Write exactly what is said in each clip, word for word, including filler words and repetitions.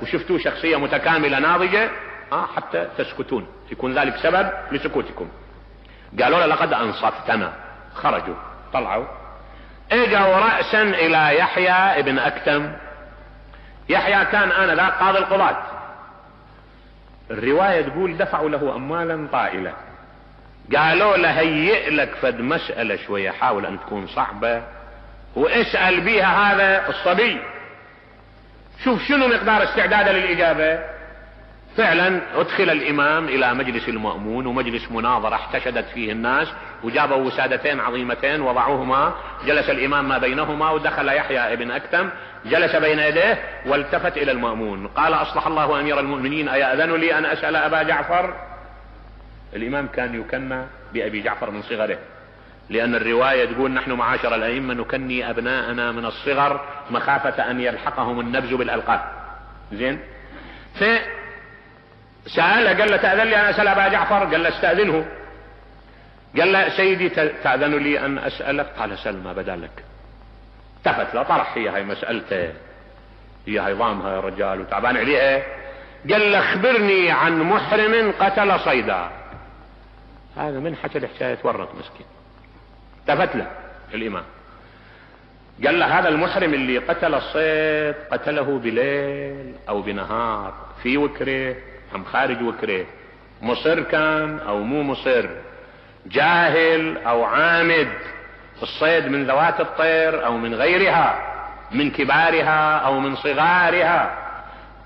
وشفتوه شخصية متكاملة ناضجة آه حتى تسكتون، يكون ذلك سبب لسكوتكم. قالوا له لقد انصفتنا. خرجوا طلعوا اجوا رأسا الى يحيى ابن اكتم. يحيى كان انذاك قاضي القضاة. الرواية تقول دفعوا له اموالا طائلة. قالوا له هيئ لك فد مسألة شوية حاول ان تكون صعبة واسأل بيها هذا الصبي، شوف شنو مقدار استعداده للاجابة. فعلا ادخل الامام الى مجلس المأمون، ومجلس مناظرة احتشدت فيه الناس، وجابوا وسادتين عظيمتين وضعوهما، جلس الامام ما بينهما، ودخل يحيى ابن اكتم جلس بين يديه والتفت الى المأمون قال اصلح الله امير المؤمنين ايأذن لي ان اسأل ابا جعفر؟ الامام كان يكنى بابي جعفر من صغره، لان الرواية تقول نحن معاشر الائمة نكني ابناءنا من الصغر مخافة ان يلحقهم النبز بالالقاب. زين، فسأله قال له تأذن لي ان اسأل ابا جعفر؟ قال له استأذنه. قال له سيدي تأذن لي ان اسألك؟ قال سل ما بدا لك. التفت له طرح هي هاي مسألته، هي هاي ضامها يا رجال وتعبان عليها. قال له اخبرني عن محرم قتل صيدا. هذا من حكى الحكاية تورط مسكين. التفت له الامام قال له هذا المحرم اللي قتل الصيد قتله بليل او بنهار، في وكره ام خارج وكره، مصر كان او مو مصر، جاهل او عامد، الصيد من ذوات الطير او من غيرها، من كبارها او من صغارها،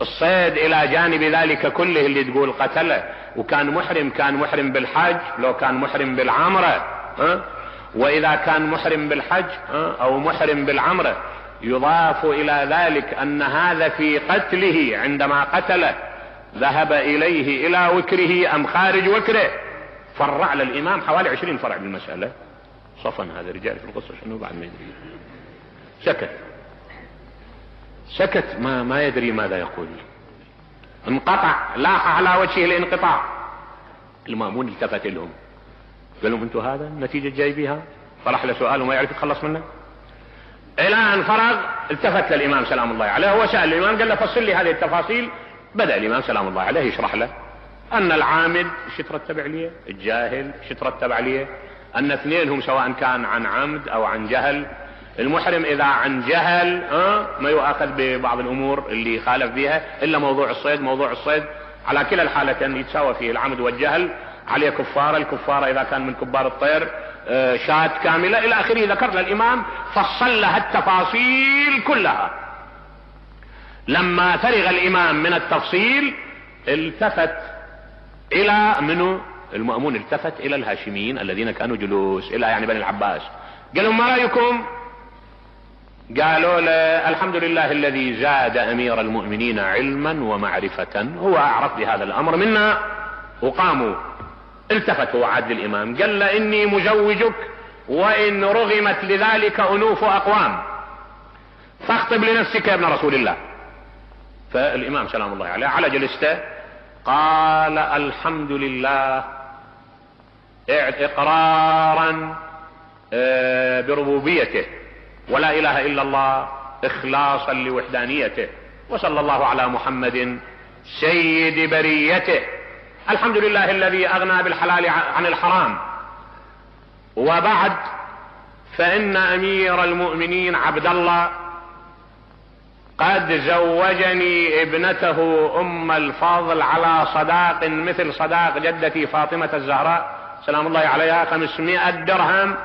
الصيد الى جانب ذلك كله اللي تقول قتله. وكان محرم، كان محرم بالحج لو كان محرم بالعمرة، ها؟ واذا كان محرم بالحج ها؟ او محرم بالعمرة يضاف الى ذلك ان هذا في قتله عندما قتله ذهب اليه الى وكره ام خارج وكره. فرع للامام حوالي عشرين فرع بالمسألة. صفن هذا الرجال في القصة شنو بعد ما يدري. سكت سكت ما ما يدري ماذا يقول. انقطع، لاح على وجهه الانقطاع. المأمون التفت لهم قال لهم انتوا هذا النتيجة جاي بيها؟ طرح له سؤال وما يعرف يتخلص منه. الى ان فرغ التفت للامام سلام الله عليه، هو سأل الامام قال له فصل لي هذه التفاصيل. بدأ الامام سلام الله عليه يشرح له ان العامد شو ترتب عليه، الجاهل شو ترتب عليه، ان اثنينهم سواء كان عن عمد او عن جهل. المحرم اذا عن جهل أه ما يؤاخذ ببعض الامور اللي خالف بها الا موضوع الصيد. موضوع الصيد على كلا الحالتين يتساوى فيه العمد والجهل، عليه كفارة. الكفارة اذا كان من كبار الطير أه شاة كاملة الى اخره. ذكر للامام فصل لها التفاصيل كلها. لما فرغ الامام من التفصيل التفت الى منه المأمون، التفت الى الهاشميين الذين كانوا جلوس، الى يعني بني العباس. قال لهم ما رأيكم؟ قالوا له الحمد لله الذي زاد امير المؤمنين علما ومعرفة، هو اعرف بهذا الامر منا. وقاموا. التفت هو عاد للامام قال له اني مزوجك وان رغمت لذلك انوف اقوام فاخطب لنفسك يا ابن رسول الله. فالامام سلام الله عليه على جلسته قال الحمد لله اقرارا بربوبيته ولا اله الا الله اخلاصا لوحدانيته، وصلى الله على محمد سيد بريته. الحمد لله الذي اغنى بالحلال عن الحرام. وبعد فان امير المؤمنين عبد الله قد زوجني ابنته ام الفضل على صداق مثل صداق جدتي فاطمة الزهراء سلام الله عليها خمسمائة درهم،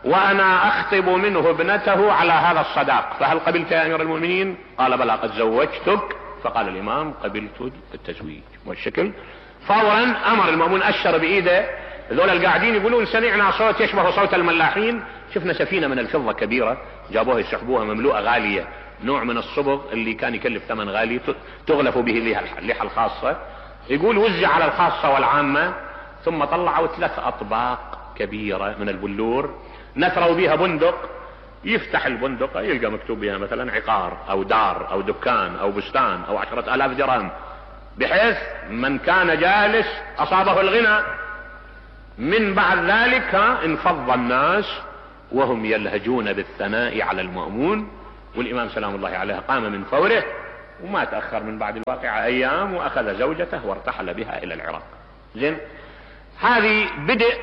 وانا اخطب منه ابنته على هذا الصداق، فهل قبلت يا امير المؤمنين؟ قال بلى قد زوجتك. فقال الامام قبلت التزويج. والشكل فورا امر المأمون اشر بايده. ذول القاعدين يقولون سمعنا صوت يشبه صوت الملاحين. شفنا سفينة من الفضة كبيرة جابوها يسحبوها مملوءة غالية، نوع من الصبغ اللي كان يكلف ثمن غالي تغلف به اللحى الخاصة. يقول وزع على الخاصة والعامة، ثم طلعوا ثلاث اطباق كبيرة من البلور نثروا بها بندق. يفتح البندقة يلقى مكتوب بها مثلا عقار او دار او دكان او بستان او عشرة الاف درهم، بحيث من كان جالس اصابه الغنى. من بعد ذلك انفض الناس وهم يلهجون بالثناء على المأمون، والامام سلام الله عليه قام من فوره وما تأخر من بعد الواقعة ايام واخذ زوجته وارتحل بها الى العراق. زين، هذه بدء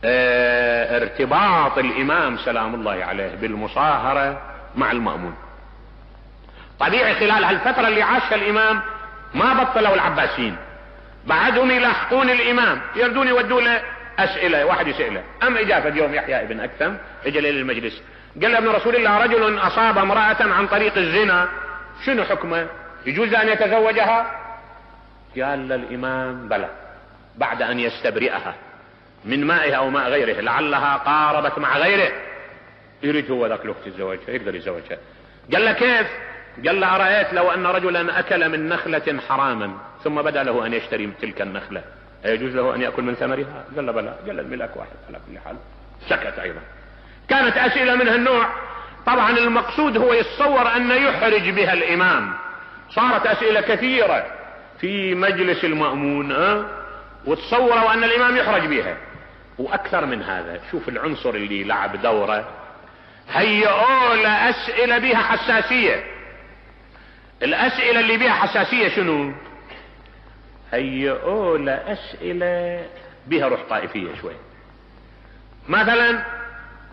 اه ارتباط الامام سلام الله عليه بالمصاهرة مع المأمون. طبيعي خلال هالفترة اللي عاشها الامام ما بطلوا العباسيين، بعدهم يلاحقون الامام، يردون يودوا له اسئلة. واحد يسأله، ام اجابة يوم يحيى ابن اكثم اجى للمجلس قال له ابن رسول الله رجل اصاب امرأة عن طريق الزنا شنو حكمه؟ يجوز ان يتزوجها؟ قال الامام بلى، بعد ان يستبرئها من مائها او ماء غيره، لعلها قاربت مع غيره، يريد هو ذاك الوقت يتزوجها، يقدر يتزوجها. قال له كيف؟ قال له أرأيت لو أن رجلا أكل من نخلة حراما ثم بدا له أن يشتري من تلك النخلة، أيجوز له أن يأكل من ثمرها؟ قال له بلى. قال الملاك واحد على كل حال. سكت أيضا. كانت أسئلة من هالنوع. طبعا المقصود هو يتصور أن يحرج بها الإمام. صارت أسئلة كثيرة في مجلس المأمون أه؟ وتصوروا أن الإمام يحرج بها. وأكثر من هذا، شوف العنصر اللي لعب دوره، هيئوا له أسئلة بها حساسية. الأسئلة اللي بها حساسية شنو؟ هيئوا له أسئلة بها روح طائفية شوي. مثلا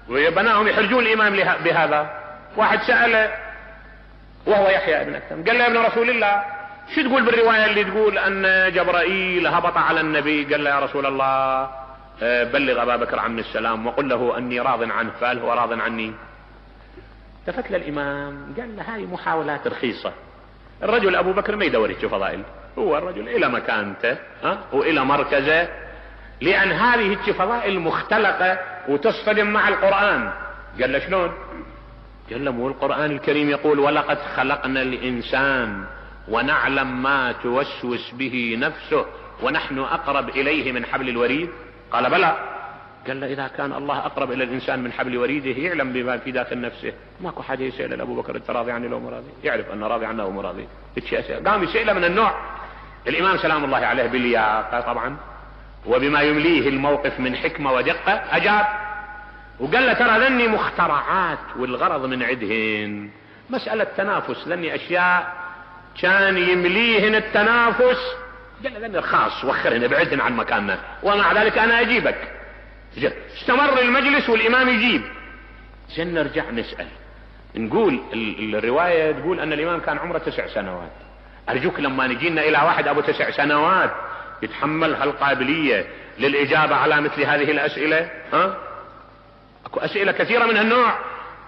ويبناهم يحرجون الإمام بهذا. واحد سأله وهو يحيى ابن أكثم قال له يا ابن رسول الله شو تقول بالرواية اللي تقول أن جبرائيل هبط على النبي؟ قال له يا رسول الله بلغ أبا بكر عني السلام وقل له أني راض عنه، فهل هو راض عني؟ التفت للإمام قال له هاي محاولات رخيصة. الرجل أبو بكر ما يدور يشوف فضائل، هو الرجل إلى مكانته ها وإلى مركزه، لأن هذه الفضائل مختلقة وتصطدم مع القرآن. قال له شلون؟ قال له مو القرآن الكريم يقول ولقد خلقنا الإنسان ونعلم ما توسوس به نفسه ونحن أقرب إليه من حبل الوريد؟ قال بلى. قال له إذا كان الله أقرب إلى الإنسان من حبل وريده يعلم بما في داخل نفسه، ماكو حاجة يسأل أبو بكر أنت راضي عني لو مراضي؟ يعرف أنه راضي عنه أو مراضي. قام يسأله من النوع. الإمام سلام الله عليه باللياقة طبعا وبما يمليه الموقف من حكمة ودقة أجاب وقال له ترى ذني مخترعات والغرض من عدهن مسألة تنافس، ذني أشياء كان يمليهن التنافس. قال له ذني خاص وخرهن ابعدهن عن مكاننا ومع ذلك أنا أجيبك. استمر المجلس والإمام يجيب. زين نرجع نسأل نقول الرواية تقول أن الإمام كان عمره تسع سنوات. أرجوك لما نجينا إلى واحد أبو تسع سنوات يتحمل هالقابلية للإجابة على مثل هذه الأسئلة؟ ها؟ أكو أسئلة كثيرة من هالنوع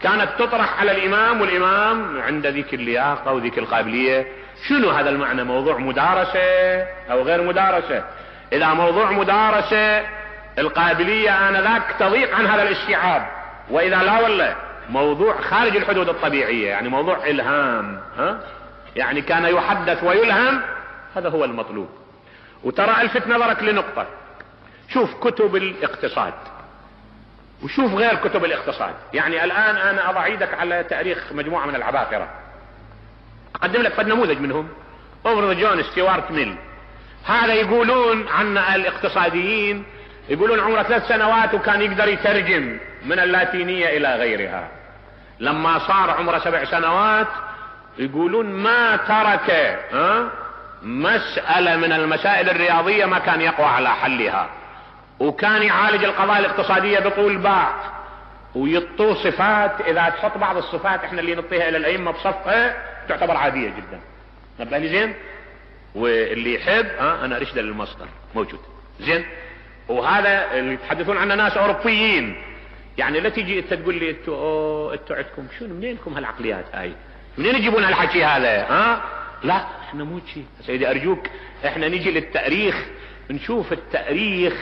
كانت تطرح على الإمام والإمام عند ذيك اللياقة وذيك القابلية. شنو هذا المعنى؟ موضوع مدارسة أو غير مدارسة؟ إذا موضوع مدارسة القابلية آنذاك تضيق عن هذا الاستيعاب، وإذا لا ولا موضوع خارج الحدود الطبيعية يعني موضوع إلهام ها؟ يعني كان يحدث ويلهم، هذا هو المطلوب. وترى الفت نظرك لنقطة، شوف كتب الاقتصاد وشوف غير كتب الاقتصاد. يعني الآن أنا أضع يدك على تاريخ مجموعة من العباقرة، أقدم لك فد نموذج منهم. أوفر جون ستيوارت ميل، هذا يقولون عن الاقتصاديين يقولون عمره ثلاث سنوات وكان يقدر يترجم من اللاتينية إلى غيرها. لما صار عمره سبع سنوات يقولون ما ترك ها مسألة من المسائل الرياضية ما كان يقوى على حلها، وكان يعالج القضايا الاقتصادية بطول باع ويطو صفات. إذا تحط بعض الصفات احنا اللي نعطيها إلى الأئمة بصفقة تعتبر عادية جدا. نبه لي زين؟ واللي يحب ها أنا أرشد للمصدر موجود زين. وهذا اللي يتحدثون عنه ناس أوروبيين، يعني لا تيجي انت تقول لي انتوا انتوا عندكم شنو منينكم هالعقليات هاي؟ منين يجيبون هالحكي هذا؟ ها لا احنا مو شيء سيدي ارجوك، احنا نجي للتاريخ نشوف التاريخ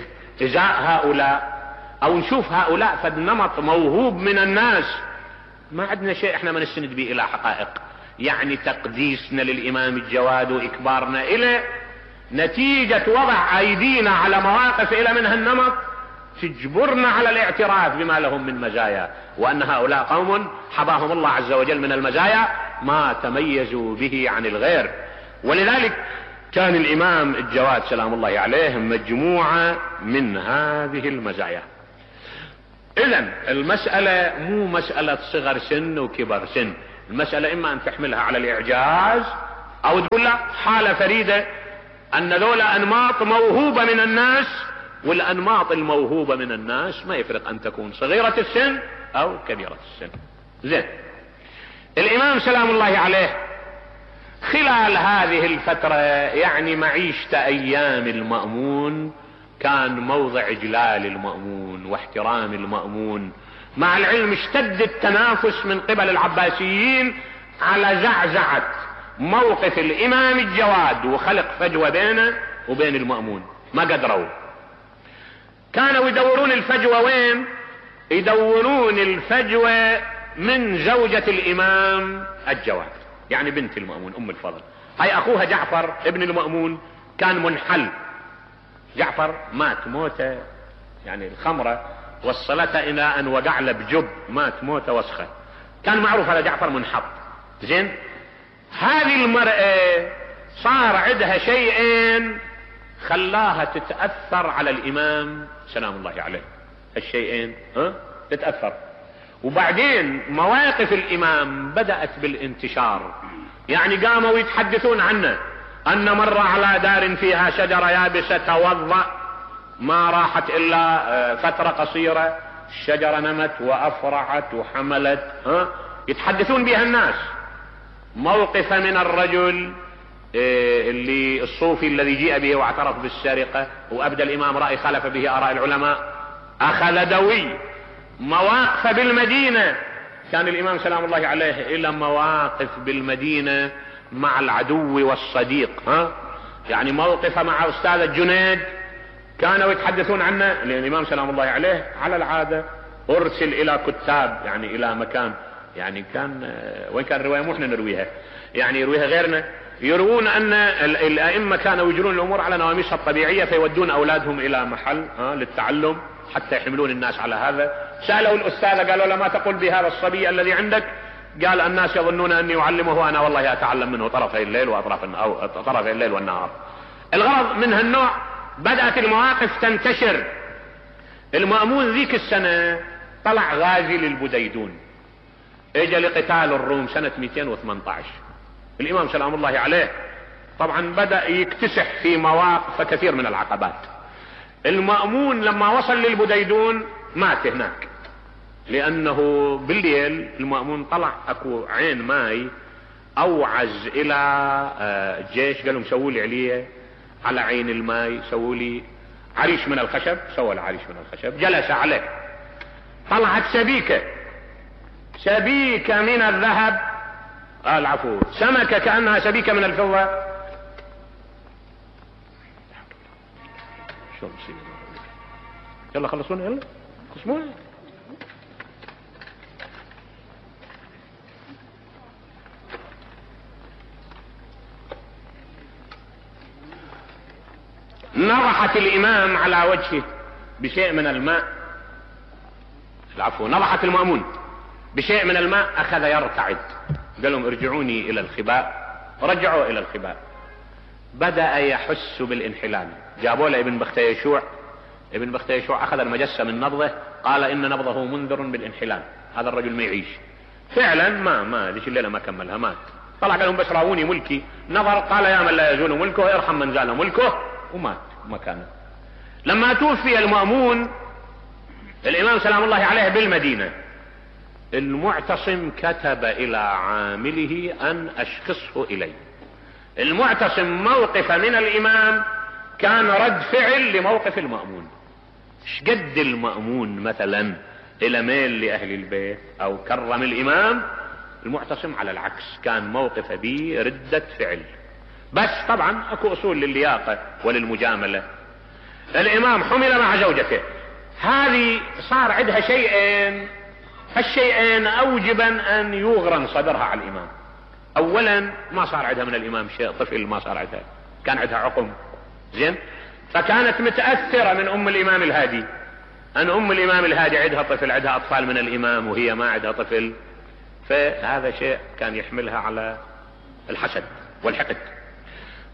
ازاء هؤلاء او نشوف هؤلاء فد نمط موهوب من الناس. ما عندنا شيء احنا ما نستند به الى حقائق. يعني تقديسنا للامام الجواد واكبارنا الى نتيجة وضع ايدينا على مواقف الى من هالنمط تجبرنا على الاعتراف بما لهم من مزايا، وان هؤلاء قوم حباهم الله عز وجل من المزايا ما تميزوا به عن الغير. ولذلك كان الامام الجواد سلام الله عليه مجموعة من هذه المزايا. اذن المسألة مو مسألة صغر سن وكبر سن، المسألة اما ان تحملها على الاعجاز او تقول لا حالة فريدة ان ذولا انماط موهوبة من الناس، والانماط الموهوبة من الناس ما يفرق ان تكون صغيرة السن او كبيرة السن. زين، الامام سلام الله عليه خلال هذه الفترة يعني معيشة ايام المأمون كان موضع اجلال المأمون واحترام المأمون، مع العلم اشتد التنافس من قبل العباسيين على زعزعة موقف الامام الجواد وخلق فجوة بينه وبين المأمون، ما قدروا. كانوا يدورون الفجوة وين؟ يدورون الفجوة من زوجة الامام الجواد، يعني بنت المأمون ام الفضل. هاي اخوها جعفر ابن المأمون كان منحل، جعفر مات موته يعني الخمرة وصلته الى ان وقع له بجب، مات موته وسخة، كان معروف هذا جعفر منحط. زين، هذه المرأة صار عندها شيئين خلاها تتأثر على الامام سلام الله عليه، الشيئين ها تتأثر. وبعدين مواقف الامام بدأت بالانتشار، يعني قاموا يتحدثون عنه ان مر على دار فيها شجرة يابسة توضأ ما راحت الا فترة قصيرة الشجرة نمت وافرعت وحملت، ها يتحدثون بها الناس. موقف من الرجل اللي الصوفي الذي جيء به واعترف بالسرقة وابدى الامام رأي خالف به اراء العلماء، اخذ دوي. مواقف بالمدينة، كان الامام سلام الله عليه الى مواقف بالمدينة مع العدو والصديق، ها يعني موقف مع استاذ الجنيد كانوا يتحدثون عنه، لان الامام سلام الله عليه على العادة ارسل الى كتاب يعني الى مكان، يعني كان وين كان الرواية مو احنا نرويها، يعني يرويها غيرنا، يروون ان الائمة كانوا يجرون الامور على نواميسها الطبيعية فيودون اولادهم الى محل ها للتعلم حتى يحملون الناس على هذا. سألوا الاستاذ قالوا له ما تقول بهذا الصبي الذي عندك؟ قال الناس يظنون اني اعلمه وانا والله اتعلم منه طرفي الليل واطراف او طرفي الليل والنهار. الغرض من هالنوع بدأت المواقف تنتشر. المأمون ذيك السنة طلع غازي للبديدون، اجى لقتال الروم سنة مئتين وثمانية عشر. الامام سلام الله عليه طبعا بدأ يكتسح في مواقف كثير من العقبات. المأمون لما وصل للبديدون مات هناك، لانه بالليل المأمون طلع اكو عين ماي اوعز الى الجيش، قالوا سووا لي عليه على عين الماي، سووا لي عريش من الخشب، سوى العريش من الخشب، جلس عليه. طلعت سبيكة سبيكة من الذهب، قال عفو سمكة كأنها سبيكة من الفضة. شو نصير؟ يلا خلصونا، يلا قسمونا. نضحت الامام على وجهه بشيء من الماء، العفو نضحت المأمون بشيء من الماء، اخذ يرتعد، قال لهم ارجعوني الى الخباء، رجعوا الى الخباء. بدأ يحس بالانحلال، جابوا له ابن بختيشوع، ابن بختيشوع اخذ المجسة من نبضه، قال ان نبضه منذر بالانحلال، هذا الرجل ما يعيش. فعلا ما ما ذيك الليلة ما كملها، مات. طلع قال لهم بس راوني ملكي، نظر قال يا من لا يزول ملكه ارحم من زال ملكه، ومات مكانه. لما توفي المأمون الامام سلام الله عليه بالمدينة، المعتصم كتب الى عامله ان اشخصه الي. المعتصم موقف من الامام كان رد فعل لموقف المأمون. شقد المأمون مثلا الى ميل لاهل البيت او كرم الامام، المعتصم على العكس كان موقف به ردة فعل. بس طبعا اكو اصول للياقة وللمجاملة. الامام حمل مع زوجته، هذه صار عندها شيئين، هالشيئين اوجبا ان يغرن صدرها على الامام. اولا ما صار عندها من الامام شيء، طفل ما صار عندها، كان عندها عقم، زين، فكانت متأثرة من ام الامام الهادي، ان ام الامام الهادي عندها طفل، عندها اطفال من الامام وهي ما عندها طفل، فهذا شيء كان يحملها على الحسد والحقد.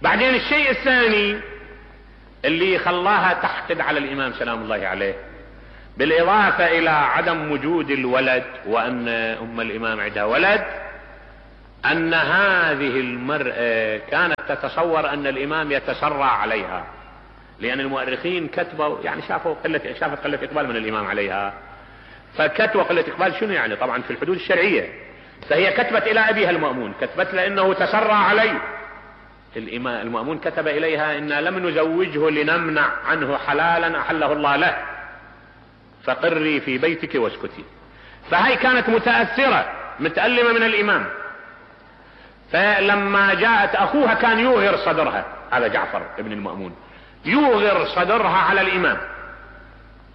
بعدين الشيء الثاني اللي خلاها تحقد على الامام سلام الله عليه، بالاضافة الى عدم وجود الولد وان ام الامام عندها ولد، ان هذه المرأة كانت تتصور ان الامام يتسرع عليها، لان المؤرخين كتبوا يعني شافوا قلة شافت قلة اقبال من الامام عليها، فكتبوا قلة اقبال شنو يعني طبعا في الحدود الشرعية، فهي كتبت الى ابيها المأمون، كتبت لانه تسرع علي. الامام المأمون كتب اليها ان لم نزوجه لنمنع عنه حلالا احله الله له، فقري في بيتك واسكتي. فهي كانت متأثرة متألمة من الامام، فلما جاءت اخوها كان يوغر صدرها، هذا جعفر ابن المأمون يوغر صدرها على الامام،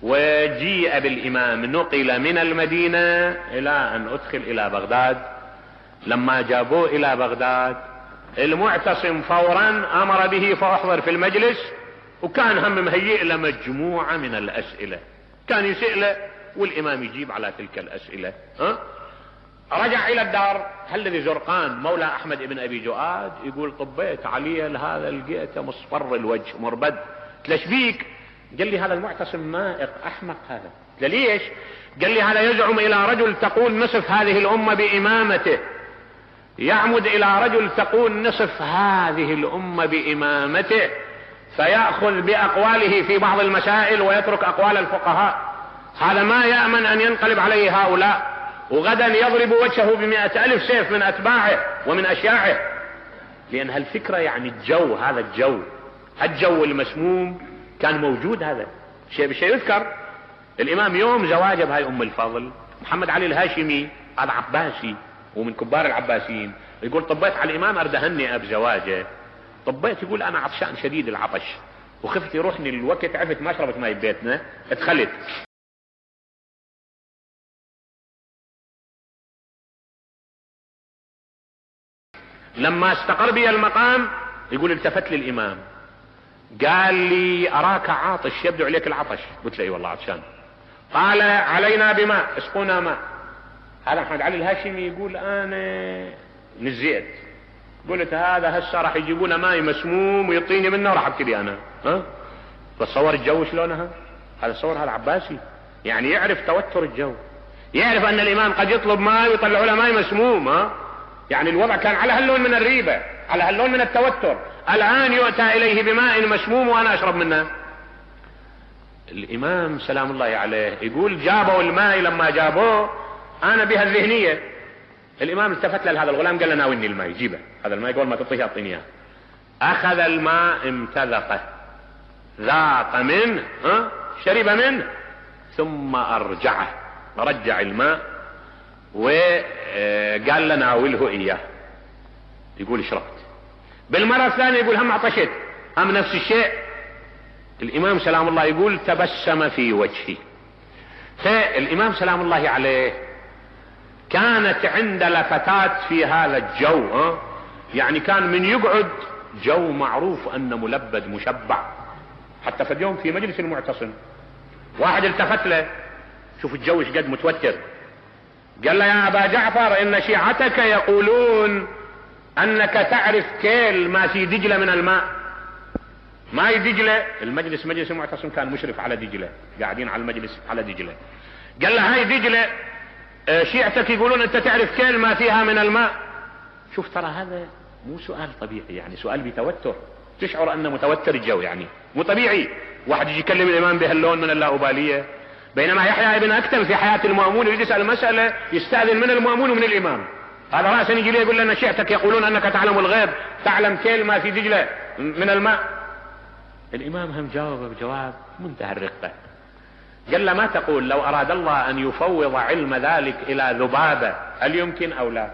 وجيء بالامام نقل من المدينة الى ان ادخل الى بغداد. لما جابوه الى بغداد المعتصم فورا امر به فاحضر في المجلس، وكان هم مهيئ له مجموعة من الاسئلة، كان يسأله والامام يجيب على تلك الاسئلة. ها؟ رجع الى الدار، الذي زرقان مولى احمد بن ابي جؤاد يقول طبيت علي هذا لقيته مصفر الوجه مربد. ليش بيك؟ قال لي هذا المعتصم مائق احمق هذا. قال ليش؟ قال لي هذا يزعم الى رجل تقول نصف هذه الامة بامامته، يعمد الى رجل تقول نصف هذه الامة بامامته، فيأخذ باقواله في بعض المسائل ويترك اقوال الفقهاء. هذا ما يأمن ان ينقلب عليه هؤلاء، وغدا يضرب وجهه بمئة الف سيف من اتباعه ومن اشياعه. لان هالفكرة يعني الجو، هذا الجو الجو المسموم كان موجود. هذا شيء بشيء يذكر. الامام يوم زواجه بهاي ام الفضل محمد علي الهاشمي، هذا عباسي ومن كبار العباسيين، يقول طبيت على الامام اردهني اب زواجه. طبيت يقول انا عطشان شديد العطش وخفت يروحني الوقت، عفت ما شربت ماي ببيتنا، ادخلت لما استقر بي المقام. يقول التفت للامام قال لي اراك عاطش يبدو عليك العطش. قلت له اي والله عطشان. قال علينا بماء، اسقونا ماء. هذا محمد علي الهاشمي يقول انا نزيت، قلت هذا هسه راح يجيبون ماي مسموم ويعطيني منه وراح ابتدي انا. ها بتصور الجو شلونها؟ هذا صور هذا عباسي، يعني يعرف توتر الجو، يعرف ان الامام قد يطلب ماء ويطلعوا له ماء مسموم. ها يعني الوضع كان على هاللون من الريبة، على هاللون من التوتر. الان يؤتى اليه بماء مسموم وانا اشرب منه. الامام سلام الله عليه يقول جابوا الماء، لما جابوه انا بها الذهنية. الامام التفت لهذا الغلام قال له ناولني الماء، جيبه هذا الماء قبل ما تعطيه اعطيني اياه. اخذ الماء امتذقه، ذاق منه، ها شرب منه، ثم ارجعه، رجع الماء وقال له ناوله اياه. يقول شربت. بالمرة الثانية يقول هم عطشت، هم نفس الشيء. الامام سلام الله يقول تبسم في وجهي. فالامام سلام الله عليه كانت عند لفتات في هذا الجو. ها يعني كان من يقعد جو معروف انه ملبد مشبع. حتى في اليوم في مجلس المعتصم واحد التفت له، شوف الجو ايش قد متوتر، قال له يا ابا جعفر ان شيعتك يقولون انك تعرف كيل ما في دجلة من الماء. ماي دجلة، المجلس مجلس المعتصم كان مشرف على دجلة، قاعدين على المجلس على دجلة. قال له هاي دجلة شيعتك يقولون انت تعرف كيل ما فيها من الماء. شوف ترى هذا مو سؤال طبيعي، يعني سؤال بتوتر، تشعر انه متوتر الجو، يعني مو طبيعي واحد يجي يكلم الامام بهاللون من اللائبالية. بينما يحيى ابن اكتم في حياة المأمون يريد يسأل مسألة يستأذن من المأمون ومن الامام، هذا رأسا يجي ليه يقول لنا شيعتك يقولون انك تعلم الغيب، تعلم كيل ما في دجلة من الماء. الامام هم جاوب بجواب منتهى الرقة، قال له ما تقول لو اراد الله ان يفوض علم ذلك الى ذبابة هل يمكن او لا؟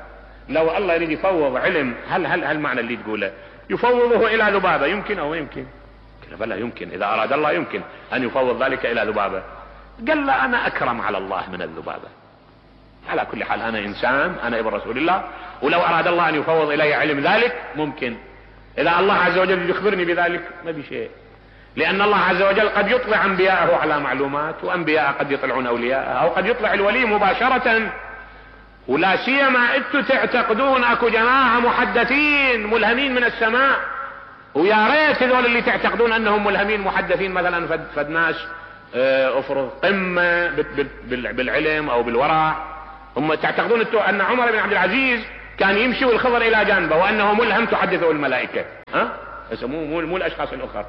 لو الله يريد يفوض علم، هل هل هل معنى اللي تقوله يفوضه الى ذبابة يمكن او يمكن؟ قال بلى يمكن، اذا اراد الله يمكن ان يفوض ذلك الى ذبابة. قال له انا اكرم على الله من الذبابة. على كل حال انا انسان، انا ابن رسول الله، ولو اراد الله ان يفوض الي علم ذلك ممكن. اذا الله عز وجل يخبرني بذلك ما بشيء، لان الله عز وجل قد يطلع انبياءه على معلومات، وانبياء قد يطلعون اولياءه، او قد يطلع الولي مباشرة. ولا سيما انتم تعتقدون اكو جماعة محدثين ملهمين من السماء، ويا ريت هذول اللي تعتقدون انهم ملهمين محدثين مثلا فد, فد ناس افرض قمة بالعلم او بالورع. هم تعتقدون ان عمر بن عبد العزيز كان يمشي والخضر الى جانبه وانه ملهم تحدثه الملائكة، ها بس مو مو, مو الاشخاص الاخر.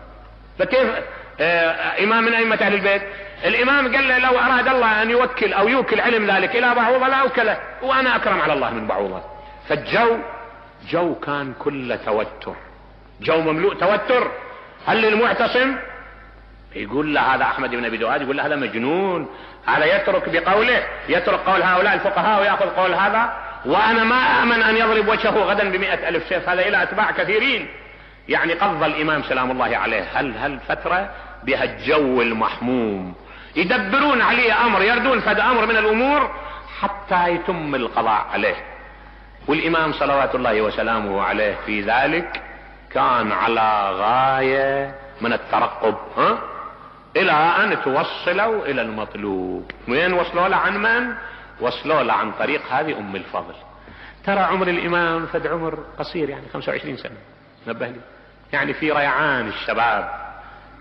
فكيف آه امام من ائمة اهل البيت؟ الامام قال له لو اراد الله ان يوكل او يوكل علم ذلك الى بعوضة لا اوكله، وانا اكرم على الله من بعوضة. فالجو جو كان كله توتر، جو مملوء توتر. هل المعتصم يقول له هذا احمد بن ابي دؤاد، يقول له هذا مجنون، هذا يترك بقوله، يترك قول هؤلاء الفقهاء ويأخذ قول هذا، وانا ما امن ان يضرب وجهه غدا بمئة الف سيف، هذا الى اتباع كثيرين. يعني قضى الامام سلام الله عليه هل هل فترة بها الجو المحموم، يدبرون عليه امر، يردون فد امر من الامور حتى يتم القضاء عليه. والامام صلوات الله وسلامه عليه في ذلك كان على غاية من الترقب، ها الى ان توصلوا الى المطلوب. وين وصلوا له؟ عن من؟ وصلوا له عن طريق هذه ام الفضل. ترى عمر الامام فد عمر قصير، يعني خمسة وعشرين سنة، نبه لي، يعني في ريعان الشباب،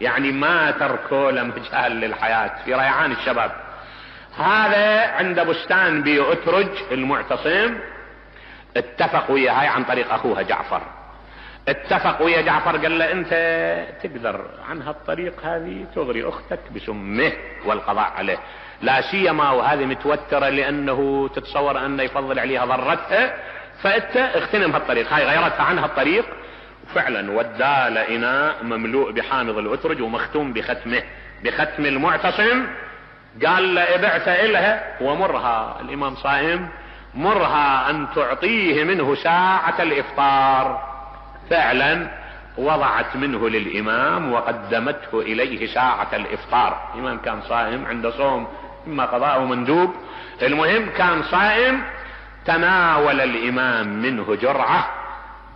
يعني ما تركوا له مجال للحياة، في ريعان الشباب. هذا عند بستان بيؤترج المعتصم اتفق وياها عن طريق اخوها جعفر، اتفق ويا جعفر قال له انت تقدر عن هالطريق هذه تغري اختك بسمه والقضاء عليه، لا سيما وهذه متوترة لانه تتصور انه يفضل عليها ضرتها، فانت اغتنم هالطريق. هاي غيرتها عن هالطريق، وفعلا ودى اناء مملوء بحامض الاترج ومختوم بختمه بختم المعتصم. قال له ابعث الها ومرها، الامام صائم، مرها ان تعطيه منه ساعة الافطار. فعلا وضعت منه للامام وقدمته اليه ساعة الافطار. الامام كان صائم، عنده صوم اما قضاء او مندوب، المهم كان صائم. تناول الامام منه جرعة،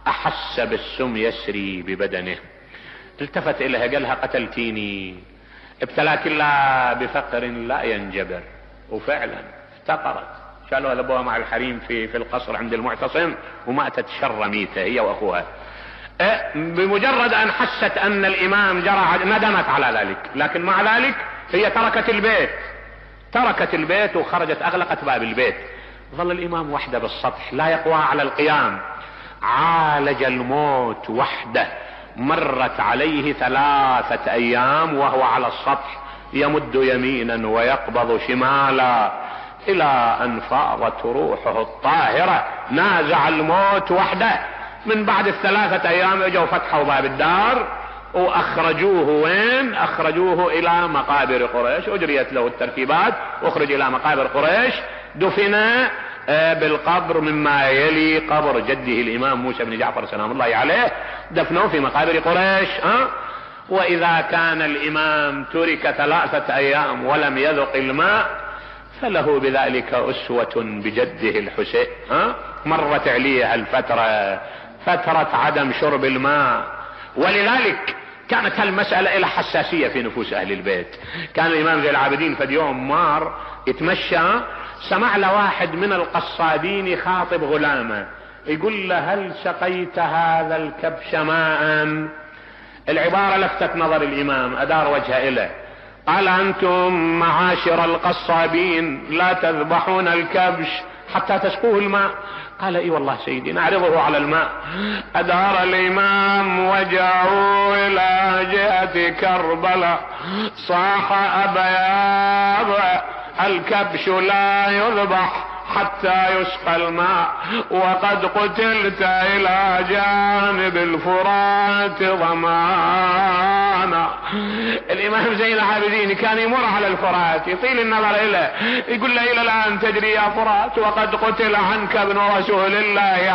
احس بالسم يسري ببدنه، التفت اليها قال لها قتلتيني، ابتلاك الله بفقر لا ينجبر. وفعلا افتقرت، شالوها لابوها مع الحريم في في القصر عند المعتصم، وماتت شر ميته هي واخوها. بمجرد ان حست ان الامام جرى ندمت على ذلك، لكن مع ذلك هي تركت البيت، تركت البيت وخرجت اغلقت باب البيت. ظل الامام وحده بالسطح لا يقوى على القيام، عالج الموت وحده. مرت عليه ثلاثة ايام وهو على السطح يمد يمينا ويقبض شمالا، الى ان فاضت روحه الطاهرة، نازع الموت وحده. من بعد الثلاثة ايام اجوا فتحوا باب الدار واخرجوه. وين اخرجوه؟ الى مقابر قريش، اجريت له الترتيبات، اخرج الى مقابر قريش، دفن بالقبر مما يلي قبر جده الامام موسى بن جعفر سلام الله عليه، دفنوه في مقابر قريش. ها واذا كان الامام ترك ثلاثة ايام ولم يذق الماء، فله بذلك اسوة بجده الحسين. ها مرت عليه الفترة، فترة عدم شرب الماء، ولذلك كانت هالمسألة إلى حساسية في نفوس اهل البيت. كان الامام زي العابدين فد يوم مار يتمشى، سمع له واحد من القصادين يخاطب غلامه، يقول له هل سقيت هذا الكبش ماء؟ العبارة لفتت نظر الامام، ادار وجهه اليه، قال انتم معاشر القصابين لا تذبحون الكبش حتى تسقوه الماء؟ قال اي والله سيدي نعرضه على الماء. ادار الامام وجهه الى جهة كربلاء، صاح ابا يا ابا الكبش لا يذبح حتى يسقى الماء، وقد قتلت الى جانب الفرات ضمانا. الامام زين العابدين كان يمر على الفرات يطيل النظر اليه، يقول له الى الان تجري يا فرات وقد قتل عنك ابن رسول الله